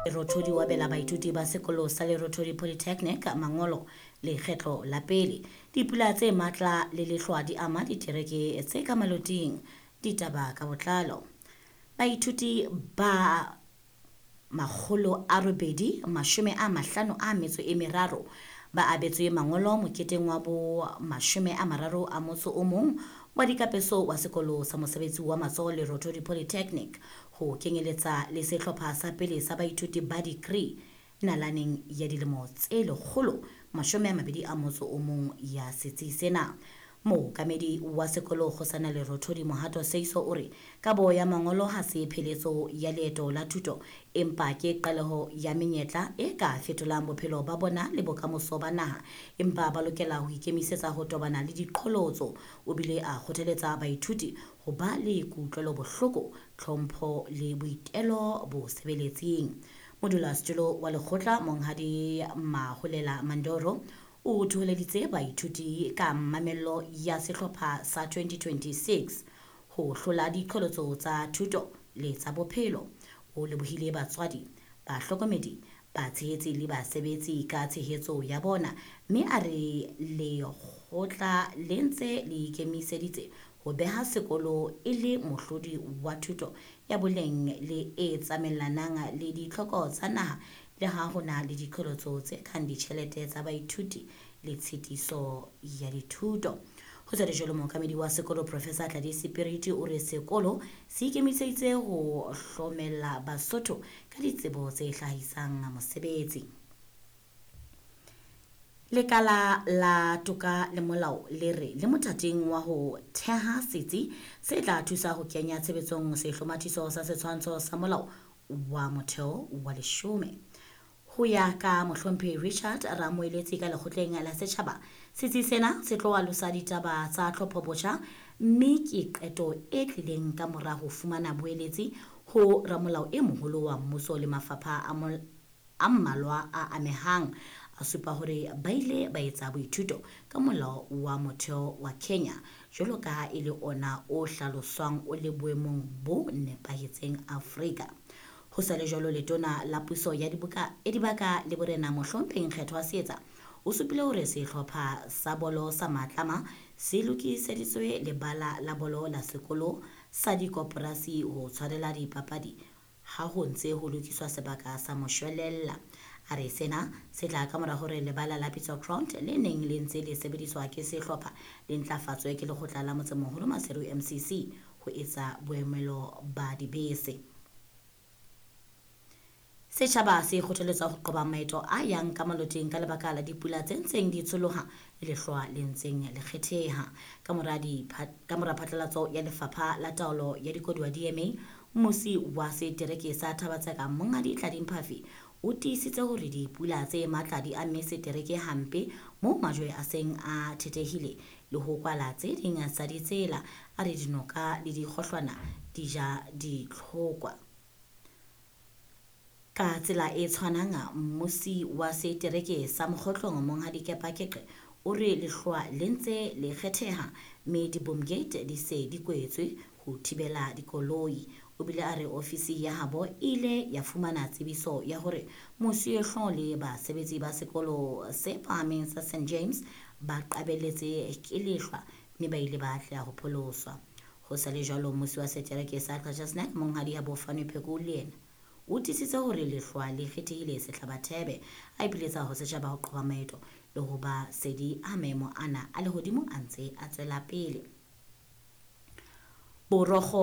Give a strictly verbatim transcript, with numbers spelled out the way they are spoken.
Lerothodi o abela baithuti ba sekolo sa Lerothodi Polytechnic mangolo lekgetlo la pele. Dipula tse matla le lehlwa di ama ditereke tse ka maloting. Ditaba ka botlalo. Baithuti ba makgolo a robedi mashome a mahlano a metso e meraro ba abetswe mangolo moketeng wa bo mashome a mararo a motso o mong wa dikapeso wa sekolo sa mosebetsi wa matsoho Lerothodi Polytechnic, ho kenyeletsa le sehlopha sa pele sa baithuti ba degree nalaneng ya dilemo tse lekgolo mashome a mabedi a motso o mong ya setsi sena. Mookamedi wa sekolo Kgosana Lerothodi Mohato Seiso o re kabo ya mangolo ha se pheletso ya leeto la thuto, empa ke qaleho ya menyetla e ka fetolang bophelo ba bona le bokamoso ba naha, empa ba lokela ho ikemisetsa ho tobana le diqholotso. O bile a kgothaletsa baithuti ho ba le kutlwelobohloko, tlhompho le boitelo bo sebeletsing. Modulasetulo wa lekgotla Monghadi Maholela Mandoro o thoholeditse baithuti ka mamello ya sehlopha sa twenty twenty-six ho hlola diqholotso tsa thuto le tsa bophelo. O lebohile batswadi, bahlokomedi, batshehetsi le basebetsi ka tshehetso ya bona, mme a re lekgotla le ntse le ikemiseditse ho beha sekolo e le mohlodi wa thuto ya boleng le e tsamaelanang le ditlhoko tsa naha, le ha ho na le diqholotso tse kang ditjhelete tsa baithuti le tshitiso ya dithuto. Ho sa le jwalo, mookamedi wa sekolo Professor Tladi Sepiriti o re sekolo se ikemiseditse ho hlomella Basotho ka ditsebo tse hlahisang mosebetsi. Lekala la toka le molao le re le mothating wa ho theha setsi se tla thusa ho kenya tshebetsong sehlomathiso sa setshwantsho sa molao wa motheo wa leshome. Ho ya ka mohlomphehi Richard Ramoeletsi ka lekgotleng la setjhaba, setsi sena se tlo alosa ditaba tsa tlhophobotjha, mme ke qeto e tlileng ka mora ho fumana boeletsi ho ramolao e moholo wa mmuso le mafapha a mol-, a mmalwa a amehang. A supa hore ba ile ba etsa boithuto ka molao wa motheo wa Kenya jwalo ka ha e le ona o hlaloswang o le boemong bo nepahetseng Afrika. Ho sa le jwalo, letona la puso ya dibuka, ya dibaka le borena mohlomphehi Nkgethwa Seetsa o supile hore sehlopha sa bolo sa Matlama se lokiseditswe lebala la bolo la sekolo sa dikoporasi ho tshwarela dipapadi ha ho ntse ho lokiswa sebaka sa moshwelella. A re sena se tla ka mora hore lebala la Pitso Ground le neng le ntse le sebediswa ke sehlopha le ntlafatswe ke lekgotla la motsemoholo Maseru M C C ho etsa boemelo ba dibese. Setjhaba se kgothaletswa ho qoba maeto a yang ka maloteng ka lebaka la dipula tse ntseng di tsholoha le lehlwa le ntseng le kgetheha. Ka mora dipha-, ka mora phatlalatso ya Lefapha la Taolo ya Dikoduwa D M A, mmusi wa setereke sa Thaba-Tseka Monghadi Tladi Mphafi o tiisitse hore dipula tse matla di amme setereke hampe moo majwe a seng a thethehile le ho kwala tse ding tsa ditsela. A re dinoka le dikgohlwana di ja ditlhokwa. Ka tsela e tshwanang, mmusi wa setereke sa Mokgotlong Monghadi Kepa Keqe o re lehlwa le ntse le kgetheha mme di-boom gate di se di kwetswe ho thibela dikoloi. O bile a re ofisi ya habo e ile ya fumana tsebiso ya hore mosuwehlooho le basebetsi ba sekolo se phahameng sa Saint James ba qabelletse ke lehlwa mme ba ile ba atleha ho pholoswa. Ho sa le jwalo, mmusi wa setereke sa Qacha's Nek Monghadi Habofane Pheko le yena o tiisitse hore lehlwa le kgethehile sehlabathebe, a ipiletsa ho setjhaba ho qoba maeto le ho ba sedi ha maemo ana a lehodimo a ntse a tswela pele. Borokgo